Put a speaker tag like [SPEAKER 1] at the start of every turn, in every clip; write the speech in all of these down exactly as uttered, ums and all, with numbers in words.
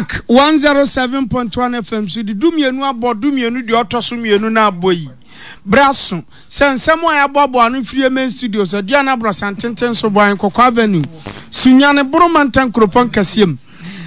[SPEAKER 1] Ark one zero seven point one F M so de dumienu abɔ dumienu deɛ ɔtɔ so mmienu no abɔ yi bra so sɛ nsɛm a yɛaboaboa ano firi main studios, Aduana Aborɔsan tenten so, Bɔan Kɔkɔ Avenue, Sunyane Boro mantam kuropɔn kɛseɛ mu,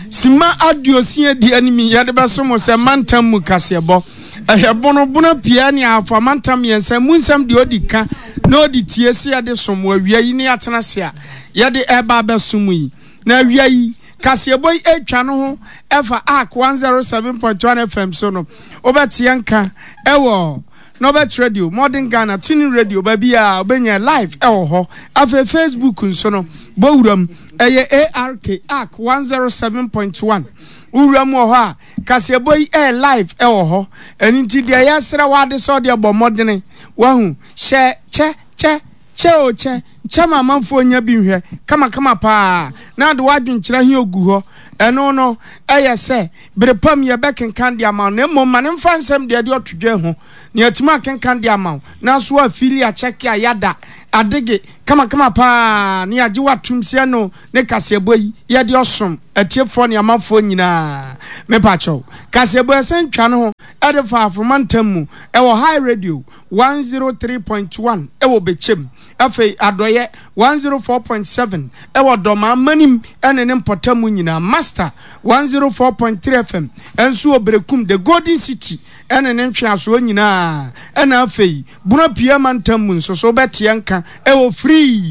[SPEAKER 1] sima aduosia di anim yɛde bɛso mo sɛ mantam mu kaseɛbɔ. Ɛyɛ bonobono pia ne Ahafo amantam mmiɛnsa mu nsɛm deɛ ɔdi ka na ɔdi tie sɛ yɛde som wɔ awia yi ne yɛatena se a yɛde ɛba abɛso mu yi. Na awia yi kaseɛbɔ yi atwa no ho ɛfa Ark one zero seven point one F M so no, wobɛteɛ nka ɛwɔ Norbert Radio, Modern Ghana, Tuning Radio, baabi a wobɛnya live ɛwɔ hɔ. Afei Facebook nso no, bɔwuram ɛyɛ ark ark one zero seven point one. Wowura mu wɔ hɔ a, kaseɛbɔ yi ɛyɛ live ɛwɔ hɔ. Ɛno nti deɛ yɛsrɛ wade sɛ ɔdeɛ bɔ mmɔdene wahu hyɛ kyɛ kyɛ kyɛ o kyɛ kyɛ ma amanfoɔ nya bi nhwɛ kamakama paa na de wadwenkyerɛ he ogu hɔ. Ɛno no ɛyɛ sɛ bere pam yɛbɛkenkan de ama wo, na mmom ma ne mfa nsɛm deɛ de ɔto dwa ho na yɛatumi akenkan de ama wo, nanso afili akyɛke a yɛada adege kamakama paa na yɛagye watom sɛ no ne kaseɛbɔ yi yɛde ɔsom atiefoɔ ne amanfoɔ nyinaa. Mepakyɛw, kaseɛbɔ ɛsɛn twa no ho ɛde fa Afoma ntam mu ɛwɔ High Radio one zero three point one ɛwɔ Bɛkyɛm, afei Adɔyɛ one zero four point seven ɛwɔ Dɔmaa Manim ɛne ne mpɔtam nyinaa, Master one zero four point three F M ɛnso wɔ Berekum, the Golden City, ɛne ne ntweasoɔ nyinaa, ɛna afei Bono Pia mantam mu nso so wobɛteɛ nka ɛwɔ Free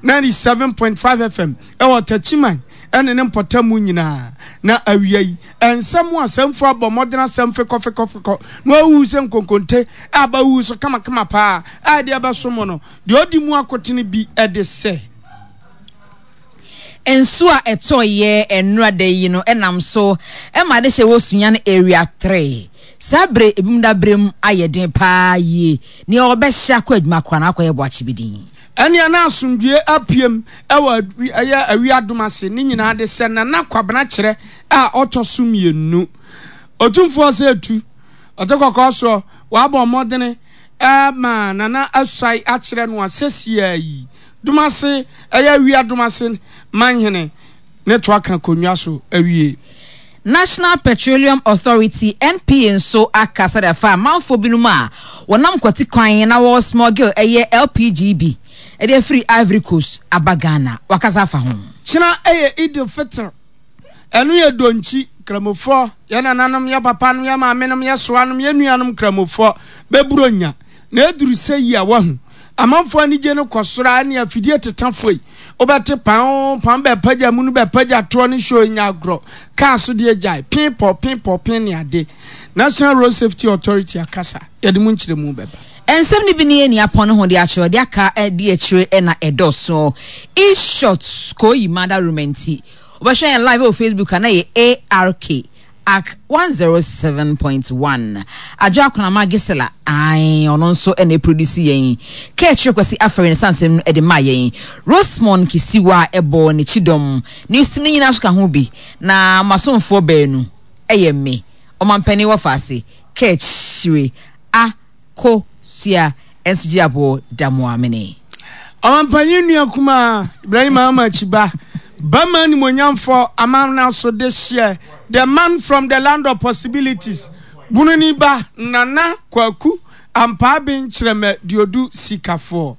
[SPEAKER 1] ninety-seven point five F M ɛwɔ Takyiman ɛne ne mpɔtam nyinaa. Na awia yi nsɛm a asɛmfo abɔ mmɔden asɛm fekɔfekɔfekɔ na wawu sɛ nkonkonte a bawu so kamakama paa a ɛde ɛbɛso mu no deɛ ɔdi mu akotene bi ɛde sɛ
[SPEAKER 2] Nsuo a ɛtɔɔyɛ nnura da yi no ɛnam so ɛma de hyɛ wɔ Sunyane Area three. Saa bere ebim da bere mu ayɛ den paa yie, nea ɔbɛhyɛ akɔ adwuma koraa na akɔyɛ boakye bi din.
[SPEAKER 1] Ɛnea na asomdwie apiem ɛwɔ ɛyɛ awiadom ase ne nyinaa de sɛ Nana Kwabena Kyerɛ a ɔtɔ so mmienu, Otumfoɔ sɛ etu ɔte kɔkɔɔ soɔ wabɔ mmɔdene ɛma Nana asuae akyerɛ no a sɛsia yi Domase ɛyɛ awia Domase manhene ne to aka akonnwa so awie.
[SPEAKER 2] National Petroleum Authority, N P A, nso aka sɛdeɛ afa amanfoɔ binom a wɔnam kwati kwan na wɔ smuggle ɛyɛ L P G bi ɛde afiri Ivory Coast aba Ghana, wakasa afa ho.
[SPEAKER 1] Kyena ɛyɛ Idil Fitr, ɛno yɛ donkyi Kramofoɔ, yɛ nananom, yɛ papanom, yɛ maamenom, yɛ soanom, yɛ nuanom Kramofoɔ bɛburo nya na ɛduru sɛ yi a wahu amanfoɔ anigye no kɔ soro a ne afidie tetafoɔ yi wobɛte pan pan bɛpagya mu no bɛpagya toɔ ne show nya agorɔ kaa so deɛ gyae pin pɔ pin pɔ pin ne ade. National Road Safety Authority akasa, yɛde mu nkyerɛmu bɛba.
[SPEAKER 2] Nsɛm no bi ne yɛ apɔn no ho de akyerɛ de aka de akyire na ɛdɔso e-short kɔyi mada room nti wobɛhwɛ yɛn live wɔ Facebook a na yɛ ark ark one zero seven point one. Adwo Akonama Gisela ae, ɔno nso ɛna ɛproduce yɛn. Kɛkyerɛ Kwasi Afɛre ne sansɛm no ɛde ma yɛn. Rosemond Kisiwa ɛbɔ n'akyi dɔm ne osim no nyinaa so ka ho bi, na masomfoɔ baanu ɛyɛ me ɔmampanin wɔ faase kɛkyire Akosua ɛnso gye aboɔ Damoamene.
[SPEAKER 1] Ɔmampanyin nua kumaa Ibrahim Mahama Akyiba bɛma nimonyamfo amana so de hyɛ, the man from the land of possibilities, Bununi ba Nana Kwaku Ampaaben Kyerɛmɛ Duodu Sikafoɔ.